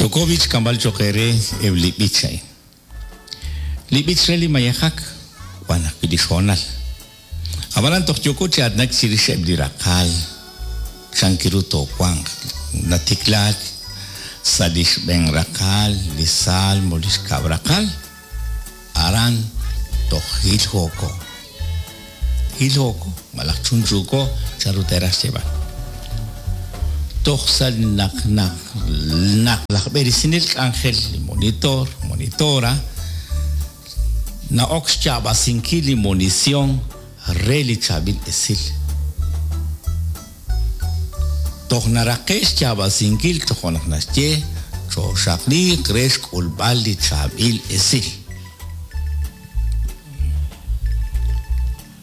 Yooko b'i' xk'amb'al cho'q eere eb' li b'ich a'in. Li b'ich re li mayejak wan ajwi' li xhoonal. Ab'anan toj yooko chi aatinak chirix eb' li raqal chan ru toowanq. Natiklaak sa' li xb'een raqal, li Salmo, li xkab' raqal, aran toj jiljooko. Jiljooko malaj chunchuuko chanru teeraj xyeeb'al. Toj sa' naq naq naq laj b'eresinel k'anjel li monitor, monitora, na'ok xyaab'asinkil li munición re li chaab'il esil. Toj naraqe' xyaab'asinkil tojo' naq naxye, Chooxaqliiq re xk'ulb'al li chaab'il esil.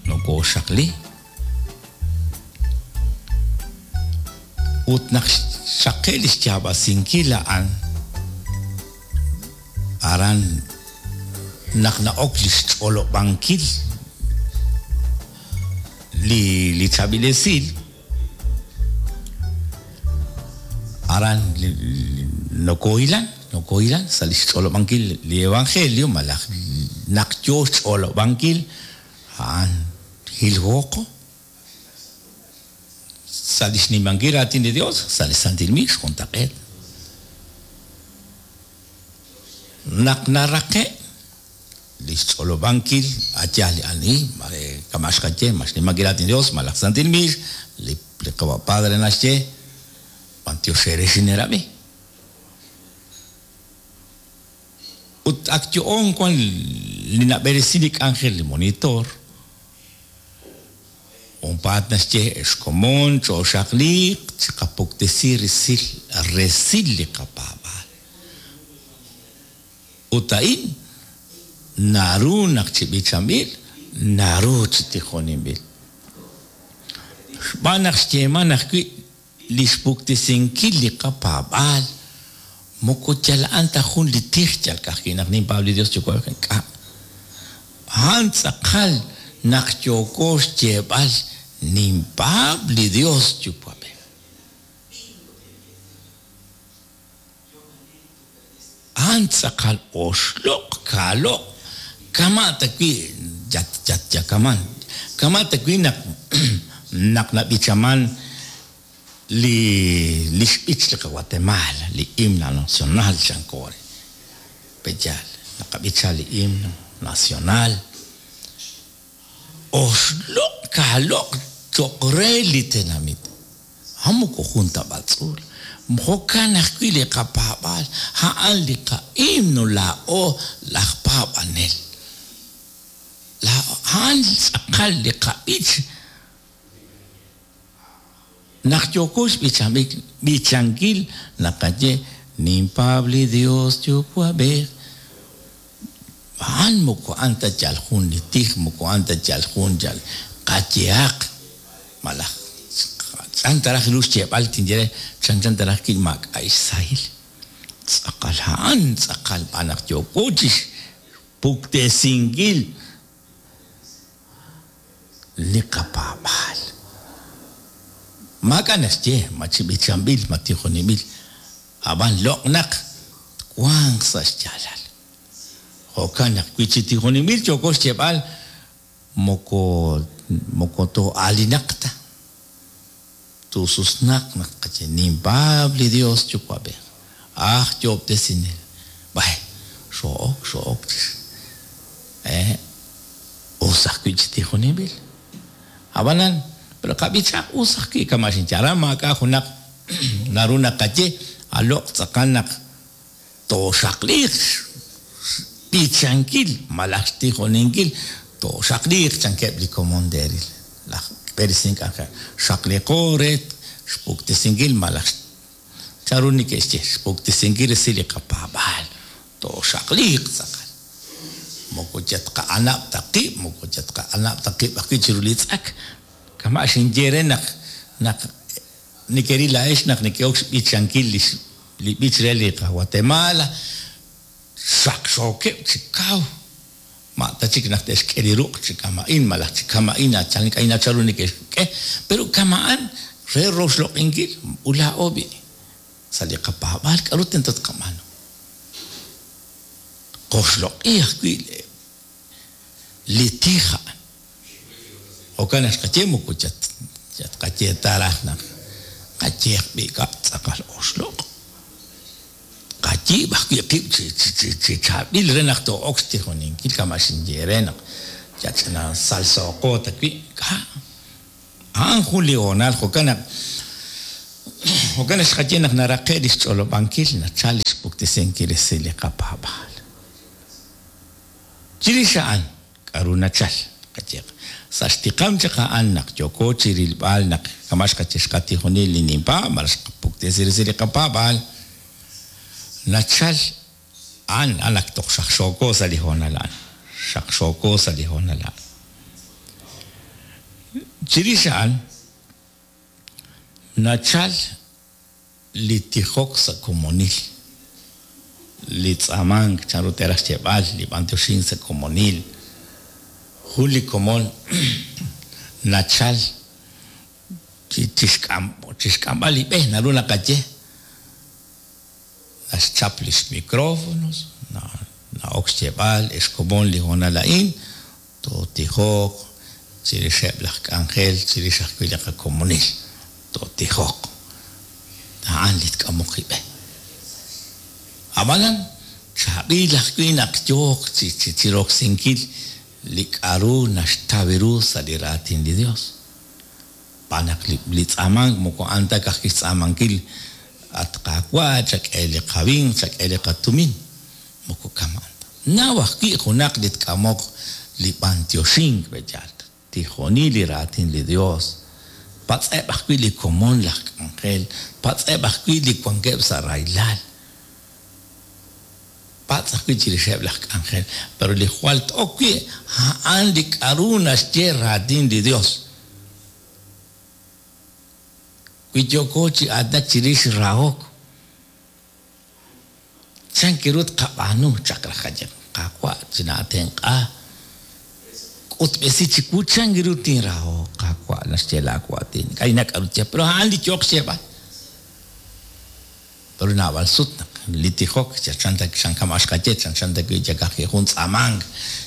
Nokooxaqli. Ut naq xraqe' li xyaab'asinkil a'an, aran naq na'ok li xch'olob'ankil li li chaab'il esil, aran nokoohilan, nokoohilan sa' li xch'olob'ankil li evangelio malaj naq yoo xch'olob'ankil a'an jiljooqo sa' li xnimankil raatin li Dios sa' li santil miix juntaq'eet. Naq naraqe' li xch'olob'ankil a' yaal li ani, mare kama' xqaye, ma xnimankil raatin li Dios malaj santil miix, li li qawa' padre naxye, B'antiox eere xineerab'i. Ut ak yo'oon wan li nab'eresin li k'anjel li monitor, Junpaat naxye, Ex komon, chooxaqliiq, chiqapuktesi resil resil li qapaab'aal. Ut a'in naru naq chi b'ichanb'il, naru chi tijoninb'il. Xb'aan naq xyeeman ajwi' li xpuktesinkil li qapaab'aal moko yal a'an ta jun li tij yal ka'ajwi' naq ninpaab' li Dios Yuwa'b'ej, ink'a'. A'an tz'aqal naq yooko xyeeb'al ninpaab' li Dios Yuwa'b'ej. A'an tz'aqal oxloq' kaaloq' kama' ta wi' yatyakaman, kama' ta wi' naq naq nab'ichaman li li xb'ich li qaWatemaal, li himno nacional chanko re. Pe'yaal naqab'icha li himno nacional? Oxloq' kaaloq' cho'q re li tenamit. A'an moko jun ta b'atz'uul. Jo'kan ajwi' li qapaab'aal, a'an li qahimno laa'o laj paab'anel. A'an tz'aqal li qab'ich naq yooko xb'ichankil naqaye, Ninpaab' li Dios Yuwa'b'ej. A'an moko a'an ta yal jun li tij, moko a'an ta yal jun yal qayehaq malaj chan ta raj ru xyeeb'al tinye re chanchan ta raj wi' maak'a' xsahil. Tz'aqal a'an tz'aqal b'an naq yooko chi xpuktesinkil li qapaab'aal. Maak'a' naxye ma chi b'ichanb'il ma tijoninb'il, ab'an loq' naq twanq sa' xyaalal. Jo'kan naq wi chi tijoninb'il yooko xyeeb'al moko moko too'aalinaq ta, tuususnaq naq tqaye, Ninpaab' li Dios Yuwa'b'ej, aj Yo'ob'tesinel. B'ay, xoo'ok, xoo'ok chi eh, us ajwi' chi tijoninb'il. Ab'anan, pero qab'ichaq us ajwi' kama' xinye. Aran maak'a' junaq naru naqaye, a loq' tz'aqal naq Tooxaqliiq xb'ichankil malaj xtijoninkil, tooxaqliiq chankeb' li komon teeril laj b'eresink k'anjel. Xaqliqo re xpuktesinkil malaj chanru neke'xye, xpuktesinkil resil li qapaab'aal. Tooxaqliiq tz'aqal. Moko yatqa'anab' ta qib', moko yatqa'anab' ta qib' ajwi' chiru li tz'ak. Kama' xinye re naq naq Nekeril laa'ex naq neke'ok xb'ichankil lix li b'ich re li qaGuatemala, xaqxookeb' chi kaw, ma' ta chik naq te'xk'e li ruq' chi kama'in malaj chi kama'in ink'a' nachal ru neke'xk'e, pero kama'an re roxloq'inkil ut laa'o b'i'. Sa' li qapaab'aal k'aru tento tqab'aanu? Qoxloq'i ajwi' li tij a'an. Jo'kan naq xqaye moko yat qaye ta raj naq qayeeq b'i' k'a' tz'aqal oxloq'. Qayiib' ajwi' qib' chi chaab'il re naq too'ok xtijoninkil kama' xinye eere naq yal ch'ina salsooqo ta wi' k'a'. A'an jun li hoonal jo'kan naq jo'kan naq xqaye naq naraqe' li xch'olob'ankil nachal li xpuktesinkil resil li qapaab'aal. Chirix a'an, k'a'ru nachal? Qayeeq, sa' xtiqam chaq a'an naq yooko chi rilb'al naq kama' xqaye xqatijoni li ninpaab' malaj xqapuktesi resil li qapaab'aal, nachal a'an, a'an ak toj xaqxooko sa' li hoonal a'an, xaqxooko sa' li hoonal a'an. Chirix a'an, nachal li tijok sa' komonil, li tz'aamank, chanru te'raj xyeeb'al, li b'antioxink sa' komonil. Jun li komon nachal chixk'amb'al li b'e, naru naqaye, naxchap lix micrófonos, na'ok xyeeb'al, Ex komon, li hoonal a'in Tootijoq chirixeb' laj k'anjel, chirix ajwi' li qakomonil. Tootijoq. A'an li tk'amoq li b'e. Ab'anan, chaab'il ajwi' naq yooq chi roksinkil li k'aru naxtaw ru sa' li Raatin li Yos. Xb'aan naq li tz'aamank moko a'an ta ka'ajwi' xtz'aamankil, At Qaawa', chak'e li qawinq, chak'e li qatumin. Moko kama'an ta. Naw ajwi' junaq li tk'amoq li b'antioxink, pe'yaal? Tijoni li raatin li Dios. Patz'eb' ajwi' li komon laj k'anjel. Patz'eb' ajwi' li wankeb' sa' rahilal. Patz' ajwi' chirixeb' laj k'anjel. Pero li jwal t-ok wi' a'an li k'a'ru naxye raatin li Dios. Wi yooko chi aatinak chirix rahok, Chan ru tqab'aanu chaq raj qaye, Qaawa', chinaatenq'a, k'utb'esi chiwu chan ru tinrahoq, Qaawa', naxye laawaatin. Ink'a' k'aru tye, pero a'an li yooq xyeeb'al. Pero naab'al sut naq li tijok chanchan ta kama' xqaye, chanchan ta wi' yakaj jun tz'aamank,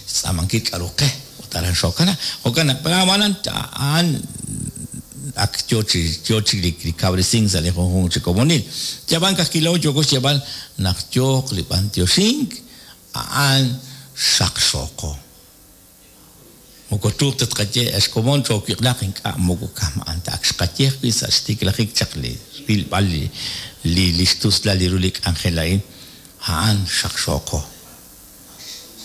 xtz'aamankil k'aru qe, ut aran xookana. Jo'kan naq ab'anan a'an ak yo chi yo chik li kawresink sa' li junjunq chi komonil. Yab'an ka'ajwi' laa'o yooko xyeeb'al naq yooq li b'antioxink a'an xaqxooqo. Moko truuq ta tqaye ex komon choowiq'laaq ink'a' moko kama'an ta ak xqaye ajwi' sa' xtiklajik chaq li rilb'al li li xtuslal li ru li k'anjel a'in a'an xaqxooqo.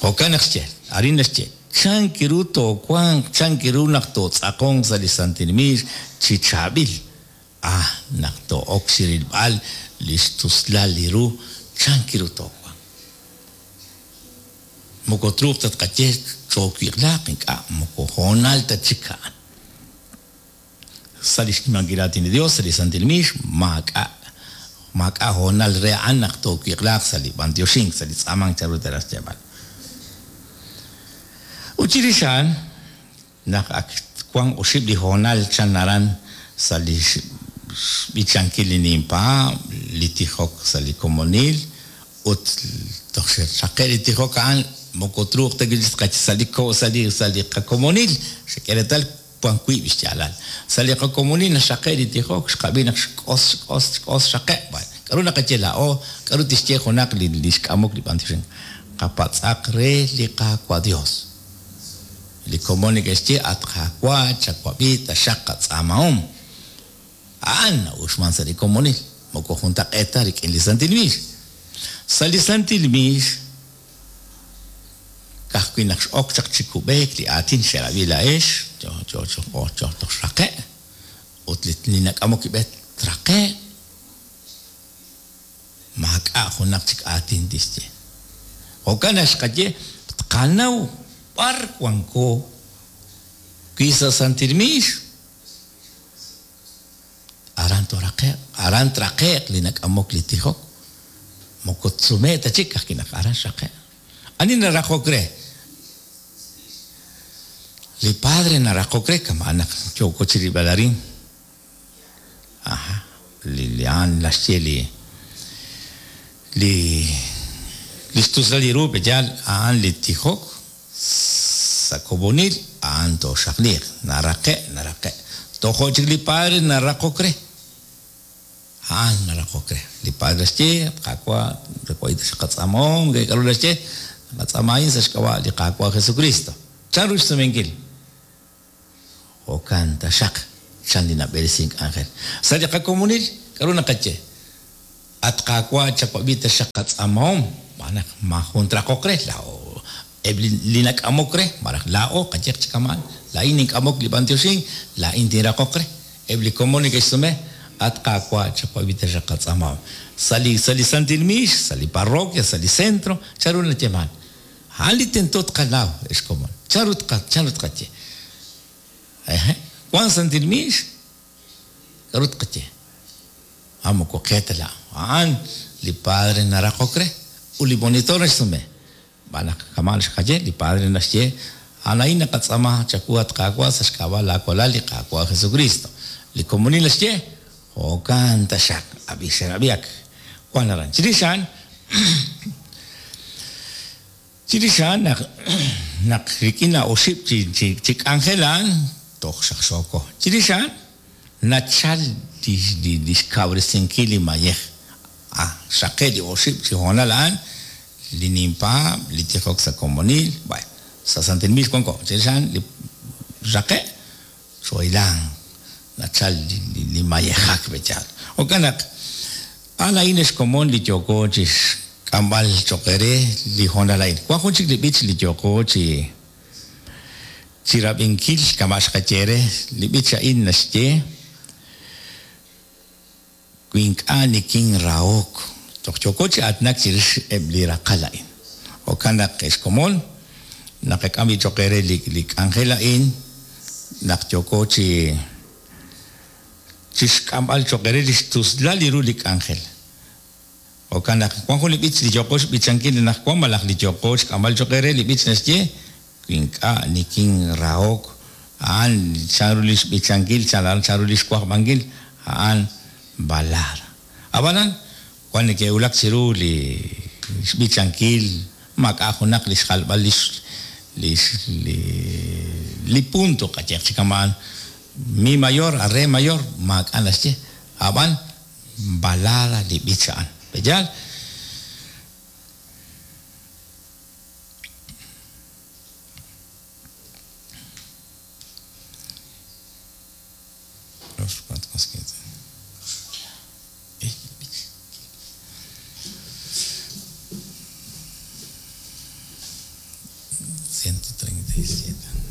Jo'kan naq xye, arin naxye, Chan ru toowanq, chan ru naq tootz'aqonq sa' li santil miix chi chaab'il? Ah, naq too'ok chirilb'al li xtuslal li ru, chan ru toowanq? Moko truuq ta tqaye choowiq'laaq, ink'a', moko hoonal ta chik a'an. Sa' li xnimankil raatin li Dios, sa' li santil miix, maak'a' maak'a' hoonal re a'an naq toowiq'laaq sa' li b'antioxink, sa' li tz'aamank chanru te'raj xyeeb'al. Ut chirix a'an, naq ak wan oxib' li hoonal chan aran sa' li xb'ichankil li ninpaab', li tijok sa' li komonil, ut toj xraqe' li tijok a'an, moko truuq ta wi' sa' li sa' li sa' li qakomonil, xak'e reetal Wank wiib' xyaalal. Sa' li qakomonil naxraqe' li tijok, xqab'i naq xk'os, xk'os, xk'os, xraqe'. B'ay, k'aru naqaye laa'o? K'aru tixye junaq li li xk'amok li b'antioxink? Qapatz'aq re li Qaawa' Dios. Li komon neke'xye, At Qaawa', chawab'i taxaq qatz'aamahom. A'an na'uxman sa' li komonil, moko juntaq'eet ta rik'in li santil miix. Sa' li santil miix, Ka'ajwi' naq x'ok chaq chi kub'eek li aatin xerab'i laa'ex, yo yo yo toj xraqe', ut li nak'amok li b'e traqe'q, maak'a' junaq chik aatin tixye. Jo'kan naq xqaye, tqanaw b'ar wanko, wi sa' santil miix, Aran tooraqe'q, aran traqe'q li nak'amok li tijok. Moko tsume' ta chik, ka'ajwi' naq aran xraqe'q. Ani naraqok re? Li padre naraqok re, kama'an naq yooko chi rilb'al arin. Aha, li a'an naxye li. Li li xtuslal li ru pe'yaal a'an li tijok sa' komonil a'an tooxaqliiq, naraqe' naraqe'. Tojo' chik li padre naraqok re. A'an naraqok re. Li padre naxye, At Qaawa', chawab'i taxaq qatz'aamahom, k'aru naxye? Naqatz'aama a'in sa' xk'ab'a' li Qaawa' Jesukristo. Chanru xsumenkil? Jo'kan taxaq, chan li nab'eresink k'anjel. Sa' li qakomonil, k'aru naqaye? At Qaawa' chawab'i taxaq qatz'aamahom, xb'aan naq maajun traqoq re, laa'o eb' li nak'amok re, malaj laa'o qayehaq chi kama'an, laa'in nink'amok li b'antioxink, laa'in tinraqoq re. Eb' li komon neke'xsume, At Qaawa' chawab'i taxaq qatz'aamahom. Sa' li sa' li santil miix, sa' li parroquia, sa' li centro, chanru nayeeman? A'an li tento tqanaw, ex komon. Chanru tqa chanru tqaye? Ehe, wan santil miix? K'aru tqaye? A moko qe ta laa'o. A'an li padre naraqok re, ut li monitor naxsume. Xb'aan naq kama' xqaye, li padre naxye, A'an a'in naqatz'aama chawu, at Qaawa', sa' xk'ab'a' laa walal, li Qaawa' Jesukristo. Li komonil naxye, Jo'kan taxaq, ab'i xerab'i ak wan aran. Chirix a'an, chirix a'an naq naq rik'in a oxib' chi chi chi k'anjel a'an toj xaqxooko. Chirix a'an nachal li li lix kawresinkil li mayej. A xraqe' li oxib' chi hoonal a'an, li ninpaab', li tijok sa' komonil, bueno, sa' santil miix wanko. Chirix a'an li xraqe', xoohilank, nachal li mayejak pe' yaal. Jo'kan naq, a'an a'in ex komon li yooko chixk'amb'al choq' eere li hoonal a'in. Wan jun chik li b'ich li yooko chi chirab'inkil kama' xqaye eere. Li b'ich a'in naxye. Wi ink'a' nikinrahok. Toj yooko chi aatinak chirix eb' li raqal a'in. Jo'kan naq, ex komon, naqak'am b'i' choq' eere li li k'anjel a'in naq yooko chi chixk'amb'al choq' eere lix tuslal li ru li k'anjel. Jo'kan naq, wan jun li b'ich li yooqo xb'ichankil anaqwan malaj li yooqo xk'amb'al choq' eere, li b'ich naxye, Wi ink'a' nikinrahok, a'an chanru lix b'ichankil, chanru lix wajb'ankil, a'an balada. A'b'anan, wan neke'wulak chiru li xb'ichankil, maak'a' junaq lix jalb'al lix lix li li punto qayehaq chi kama'an, mi mayor a re mayor, maak'a' naxye, a'b'an balada li b'ich a'an. Pe'yaal? Ciento treinta y siete.